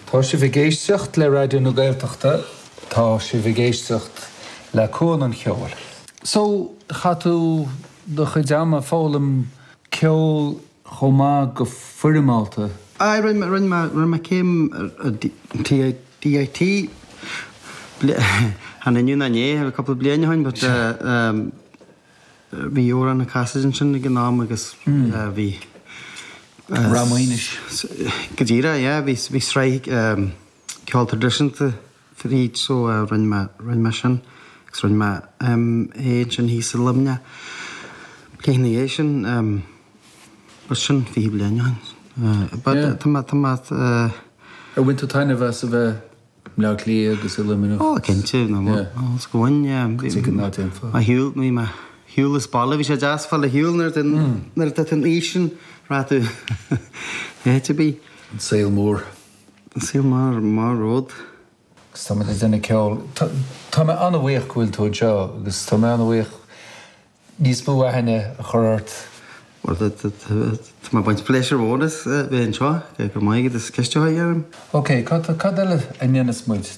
Tá sibh ag éisteacht le Raidió na Gaeltachta, tá sibh ag éisteacht le Cuan an Cheoil. So, chaith tú do chuid ama ag foghlaim ceol chomh maith go foirmeálta? Aye, rinne mé, rinne mé, rinne mé céim ar DIT, chan inniu ná inné, cúpla bliain ó shin, but bhí Odhrán Ó Casaide ansin ag an am agus bhí. Ráth Maonais. Go díreach, yeah, bhí, bhí sraith ceol traidisiúnta fríd so rinne mé, rinne mé sin agus rinne mé MA ansin thíos i Luimneach. Bliain ina dhiaidh sin, but sin 20 bliain ó shin. But tá mé, tá mé. Ar bhain tú taitneamh as a bheith i mBleá Cliath agus i Luimneach? Ó, cinnte, no, is go bhain, yeah. Tuigim ná déanfá. Ar shiúl, bhí mé ar shiúl as baile, bhí sé deas fáil ar shiúl nuair atá, nuair atá tú an aois sin, raibh tú áit ar bith. An saol mór. An saol mór, mór romhat. Agus tá muid ag déanamh ceoil. Tá mé an-bhuíoch go bhfuil tú anseo agus tá mé an-bhuíoch níos mó aithne a chur ort. Bhuel, tá mé ag baint pléisiúr mhór as bheith anseo. Go raibh maith agat as ceist a chur orm. Ok, cad eile a ndéanfas muid?